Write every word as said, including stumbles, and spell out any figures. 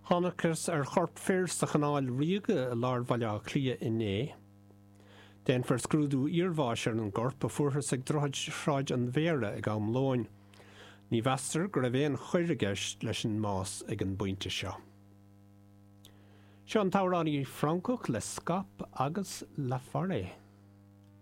Thángthas ar chorp fir sa Chanáil Ríoga i lár Bhaile Átha Cliath inné. Déanfar scrúdú iarbháis ar an gcorp a fuarthas ag droichead Shráid an Mhéara ag am lóin. Ní mheastar go raibh aon choir i gceist leis an mbás ag an bpointe seo. Seo an t-amhránaí Francach Le Scop agus La Forêt.